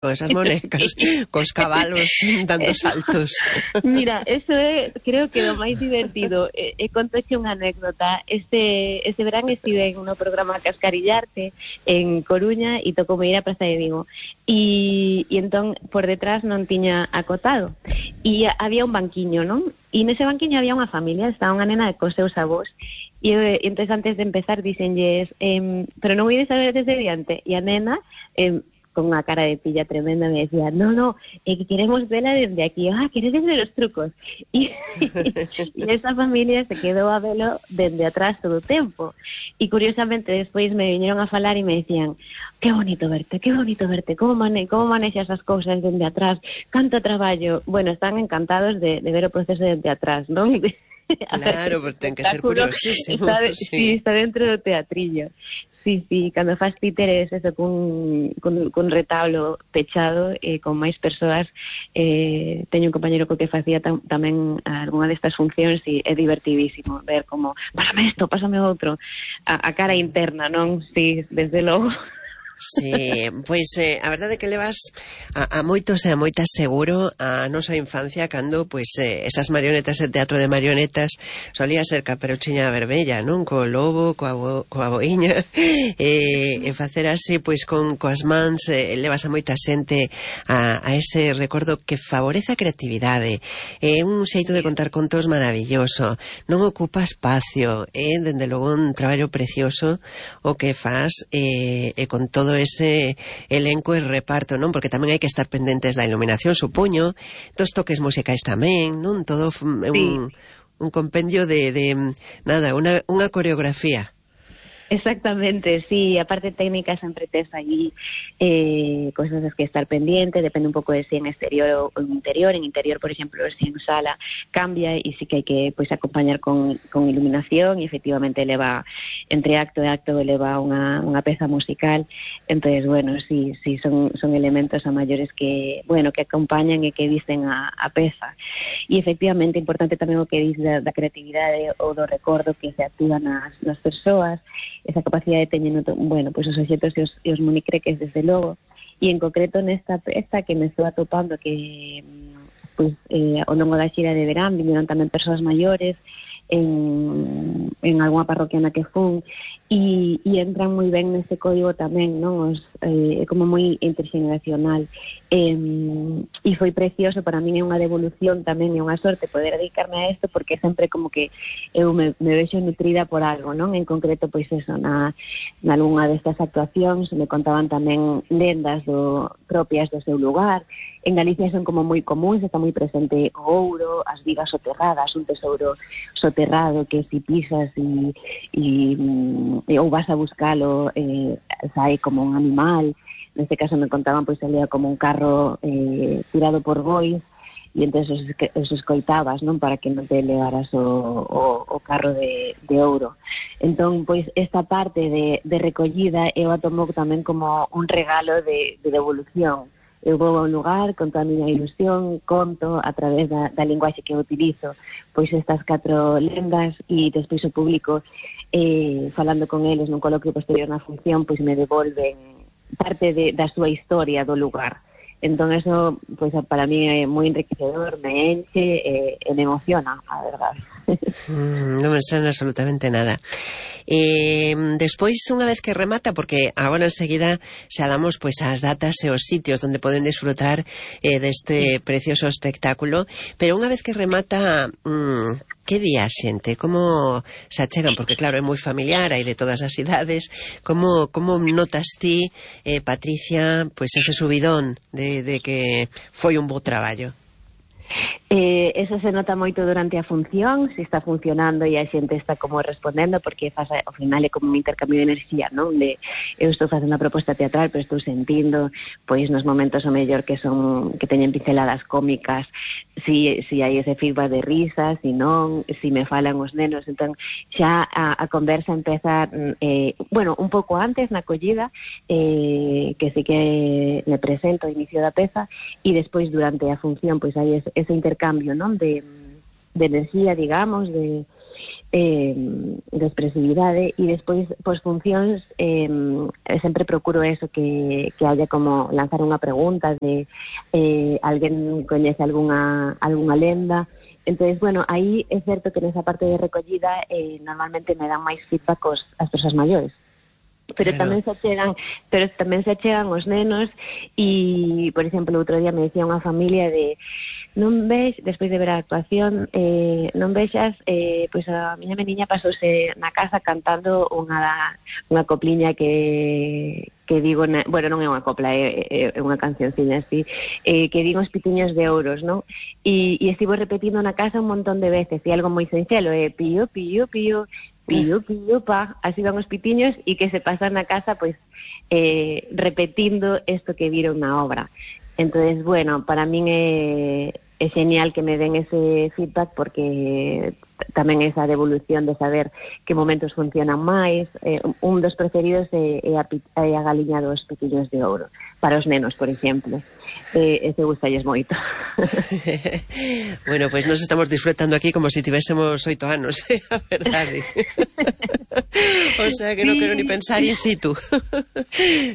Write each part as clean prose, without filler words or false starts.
con esas monecas, cos cabalos dando saltos. Mira, eso é, creo que o máis divertido. Contoche unha anécdota. Este verán estive no programa Cascarillarte en Coruña e tocou ir a Praza de Vigo. E entón, por detrás non tiña acotado. E había un banquiño, non? E nese banquiño había unha familia, estaba unha nena cos seus avós. E entón, antes de empezar, dicenlles, pero non ides a ver desde diante. E a nena... con unha cara de pilla tremenda me decía, no, que queremos verla desde aquí. ¿Queredes ver os trucos? E esa familia se quedou a velo desde atrás todo o tempo. E curiosamente despois me viñeron a falar e me decían, qué bonito verte, como manexas as cousas desde atrás, canto traballo. Bueno, están encantados de ver o proceso desde atrás, non? Claro, porque ten que ser curiosísimo. Está dentro do teatrillo. Sí, cando faz títeres eso, cun retablo pechado con máis persoas, teño un compañero co que facía tamén algunha destas funcións e é divertidísimo ver como, pásame isto, pásame outro, a cara interna, non? Sí, desde logo. Sí, pois a verdade é que levas a moitos e a moitas seguro a nosa infancia cando pois esas marionetas de teatro de marionetas solía ser Caperuchiña Vermella, non? Co lobo, coa boiña e facer así pois coas mans levas a moita xente a ese recordo que favorece a creatividade. É un xeito de contar contos maravilloso, non ocupa espacio, é dende logo un traballo precioso o que faz con todo ese elenco e reparto, non? Porque tamén hai que estar pendentes da iluminación, supoño, dos toques musicais tamén, non? Todo un compendio de nada, unha coreografía. Exactamente, sí, a parte técnica sempre tes aí cosas das que estar pendiente, depende un pouco de si en exterior ou en interior. En interior, por exemplo, si en sala cambia e sí que hai que pois acompañar con iluminación e efectivamente leva, entre acto e acto leva unha peza musical. Entonces, bueno, sí, son elementos a maiores que, bueno, que acompañan e que dicen a peza. E efectivamente importante tamén o que dice da creatividade ou do recordo que se activa nas persoas, esa capacidade teñen, bueno, pois os obxetos e os monicreques desde logo, e en concreto nesta peza que me estou atopando que pois ao longo da xira de verán viñeron tamén persoas maiores en algunha parroquia na que fun e entran moi ben nese código tamén, non? É como moi interxeneracional e foi precioso, para min é unha devolución tamén, é unha sorte poder dedicarme a isto porque sempre como que eu me vexo nutrida por algo, non? En concreto, pois eso, nalgunha destas actuacións me contaban tamén lendas propias do seu lugar. En Galicia son como moi comuns, está moi presente o ouro, as vigas soterradas, un tesouro soterrado que si pisas ou vas a buscalo sae como un animal. Neste caso me contaban pois salía como un carro tirado por bois e entón os escoitabas, non, para que non te levaras o carro de ouro. Entón, pois esta parte de recollida eu a tomo tamén como un regalo de devolución. Eu vou a un lugar, conto a miña ilusión, conto a través da linguaxe que eu utilizo pois estas 4 lendas e despois o público falando con eles nun coloquio posterior na función pois me devolven parte da súa historia do lugar. Entón eso pois para mí é moi enriquecedor, me enche e me emociona, a verdade. Non me extraña absolutamente nada. Despois, unha vez que remata, porque agora enseguida xa damos pois as datas e os sitios onde poden disfrutar deste precioso espectáculo, pero unha vez que remata, que di a xente? Como se achegan? Porque claro, é moi familiar, hai de todas as idades. Como notas ti, Patricia, pois ese subidón de que foi un bo traballo? Eso se nota moito durante a función, se está funcionando e a xente está como respondendo, porque ao final é como un intercambio de enerxía, non? Eu estou facendo a proposta teatral, pero estou sentindo pois nos momentos o mellor que teñen pinceladas cómicas, si hai ese feedback de risas, si non, si me falan os nenos. Entón xa a conversa empeza bueno, un pouco antes na acollida, que sí que me presento ao inicio da peza, e despois durante a función pois hai ese intercambio, non? De enerxía, digamos, de expresividade, e despois, pois, funcións, sempre procuro eso, que haya como lanzar unha pregunta de alguén coñece algunha lenda. Entonces, bueno, aí é certo que nesa parte de recollida normalmente me dan máis feedback as persoas maiores. Pero claro. tamén se achegan os nenos, e, por exemplo, outro día me decía unha familia de non ves, despois de ver a actuación, non vexas, pois a miña meniña pasouse na casa cantando unha copliña que digo, bueno, non é unha copla, é unha cancionciña así, que digo os pitiños de ouros, non? E estivo repetindo na casa un montón de veces, e algo moi sinxelo, pío, pío, pío, pío, pío, pa, así van os pitiños, e que se pasan na casa, pois, repetindo isto que viron na obra. Entonces, bueno, para min é genial que me den ese feedback, porque tamén esa devolución de saber que momentos funcionan máis. Un dos preferidos é a galiña dos pitiños de ouro, para os nenos, por exemplo. Ese gustalles moito. Bueno, pues nos estamos disfrutando aquí como si tivésemos 8 anos, a verdade. O sea que non quero ni pensar in situ.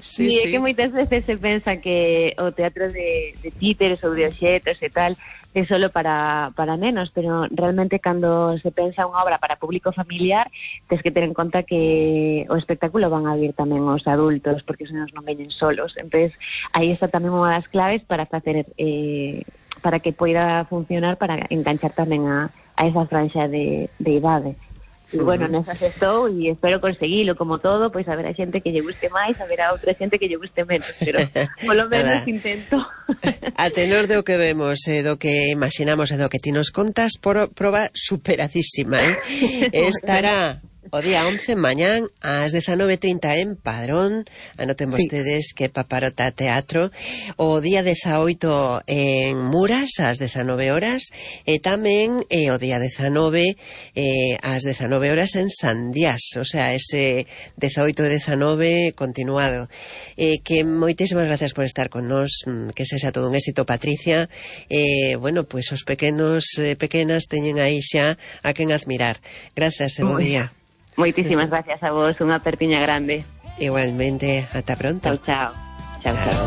Sí, é que moitas veces se pensa que o teatro de títeres ou de obxetos e tal é solo para nenos, pero realmente cando se pensa unha obra para público familiar, tens que ter en conta que o espectáculo van a vir tamén os adultos, porque os nenos non veñen solos. Entonces, aí está tamén unha das claves para facer para que poida funcionar, para enganchar tamén a esa franja de idade. E, bueno, nesas estou e espero conseguilo, como todo, pois haberá xente que lle guste máis, haberá outra xente que lle guste menos, pero polo menos intento. A tenor do que vemos, do que imaginamos e do que ti nos contas, proba superadísima, estará o día 11 mañán ás 19:30 en Padrón. Anoten vostedes que Paparota Teatro. O día 18 en Muras ás 19 horas, e tamén o día 19 ás 19 horas en Sandiás, o sea, ese 18 e 19 continuado. Que moitísimas gracias por estar con nós, que sexa todo un éxito, Patricia. Bueno, pois os pequenos pequenas teñen aí xa a quen admirar. Gracias e bo día. Moitísimas gracias a vos, unha apertiña grande. Igualmente, ata pronto. Chao, chao. Chao, chao.